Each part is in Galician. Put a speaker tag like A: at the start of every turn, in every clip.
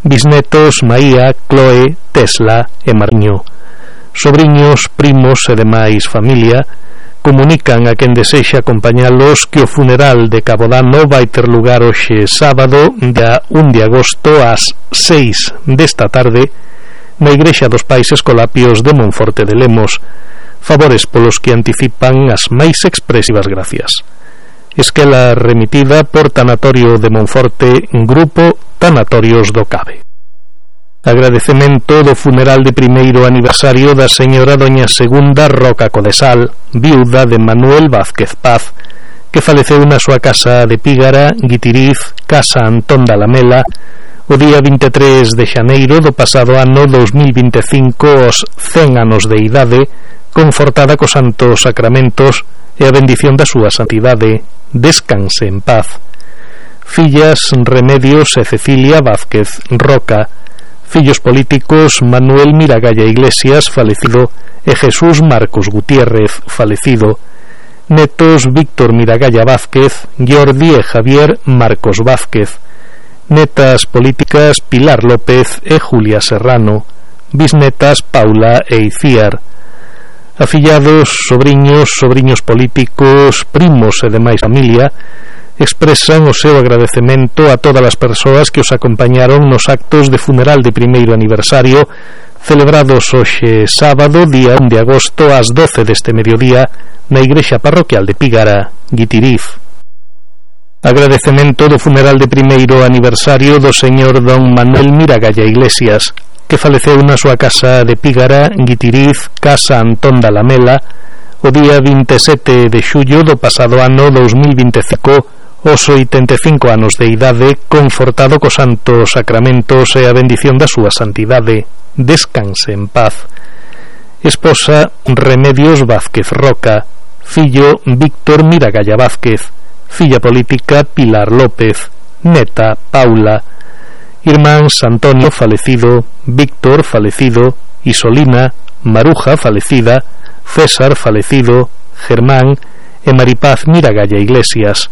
A: bisnetos Maía, Chloe, Tesla e Mariño. Sobriños, primos e demais familia comunican a quen desexa acompañalos que o funeral de Cabodano vai ter lugar hoxe sábado, dia 1 de agosto ás 6 desta tarde na Igrexa dos Pais Escolapios de Monforte de Lemos, favores polos que anticipan as máis expresivas gracias. Esquela remitida por Tanatorio de Monforte, Grupo Tanatorios do Cabe. Agradecemento do funeral de primeiro aniversario da señora doña Segunda Roca Codesal, viuda de Manuel Vázquez Paz, que faleceu na súa casa de Pígara, Guitiriz, Casa Antón da Lamela, o día 23 de xaneiro do pasado ano 2025, aos 100 anos de idade, confortada cos santos sacramentos e a bendición da súa santidade. Descanse en paz. Fillas Remedios e Cecilia Vázquez Roca. Fillos políticos Manuel Miragalla Iglesias, falecido, e Jesús Marcos Gutiérrez, falecido. Netos Víctor Miragalla Vázquez, Jordi e Javier Marcos Vázquez. Netas políticas Pilar López e Julia Serrano. Bisnetas Paula e Iciar. Afillados, sobriños políticos, primos e demais familia expresan o seu agradecemento a todas as persoas que os acompañaron nos actos de funeral de primeiro aniversario celebrados hoxe sábado, día 1 de agosto ás 12 deste mediodía na Igrexa Parroquial de Pígara, Guitiriz. Agradecemento do funeral de primeiro aniversario do señor don Manuel Miragalla Iglesias, que faleceu na súa casa de Pígara, Guitiriz, Casa Antón da Lamela, o día 27 de xullo do pasado ano 2025, aos 85 anos de idade, confortado cos santos sacramentos e a bendición da súa santidade. Descanse en paz. Esposa Remedios Vázquez Roca. Fillo Víctor Miragalla Vázquez. Filla política Pilar López. Neta Paula. Irmáns Antonio, falecido, Víctor, falecido, Isolina, Maruja, falecida, César, falecido, Germán e Maripaz Miragalla Iglesias.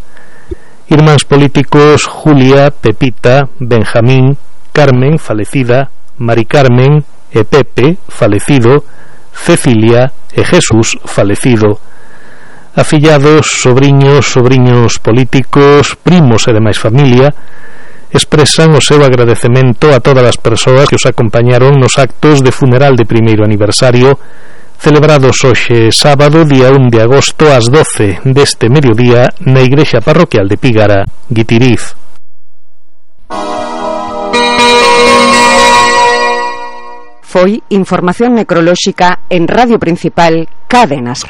A: Irmáns políticos Julia, Pepita, Benjamín, Carmen, falecida, Mari Carmen e Pepe, falecido, Cecilia e Jesús, falecido. Afillados, sobriños políticos, primos e demais familia expresan o seu agradecemento a todas as persoas que os acompañaron nos actos de funeral de primeiro aniversario celebrados hoxe sábado, día 1 de agosto ás 12 deste mediodía na Igrexa Parroquial de Pígara, Guitiriz.
B: Foi información necrolóxica en Radio Principal Cadenas.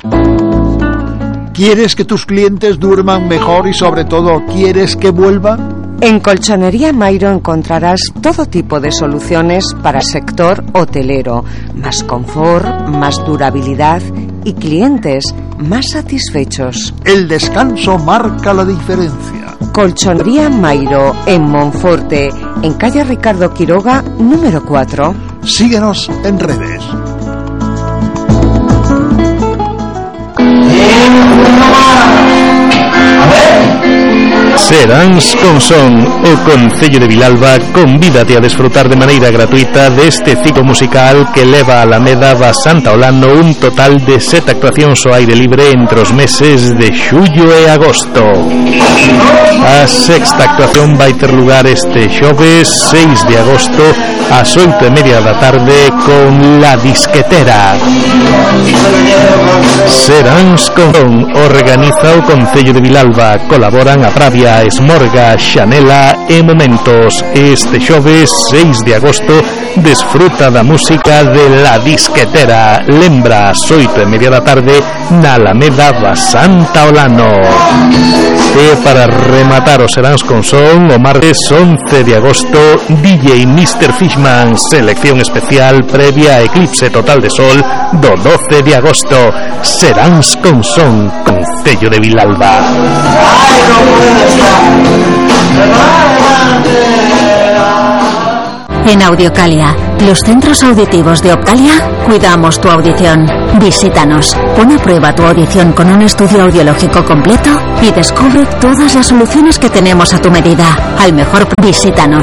C: ¿Quieres que tus clientes duerman mejor y sobre todo quieres que vuelvan?
B: En Colchonería Mairo encontrarás todo tipo de soluciones para el sector hotelero, más confort, más durabilidad y clientes más satisfechos.
C: El descanso marca la diferencia.
B: Colchonería Mairo en Monforte, en calle Ricardo Quiroga, número 4.
C: Síguenos en redes.
A: Seráns con Son, o Concello de Vilalba convídate a desfrutar de maneira gratuita deste ciclo musical que leva a Alameda va Santa Olano un total de 7 actuacións ao aire libre entre os meses de xullo e agosto. A sexta actuación vai ter lugar este xoves 6 de agosto ás 8:30 da tarde con La Disquetera. Seráns con Son organiza o Concello de Vilalba, colaboran a Pravia, Esmorga, Xanela e Momentos. Este xoves 6 de agosto desfruta da música de La Disquetera. Lembra ás 8:30 da tarde na Alameda va Santa Olano. E para rematar os Seráns con Son, o martes 11 de agosto DJ Mr. Fishman, selección especial previa a eclipse total de sol do 12 de agosto. Seráns con Son, Concello de Vilalba.
D: En Audiocalia, los centros auditivos de Optalia, cuidamos tu audición. Visítanos, pon a prueba tu audición con un estudio audiológico completo y descubre todas las soluciones que tenemos a tu medida. Al mejor, visítanos.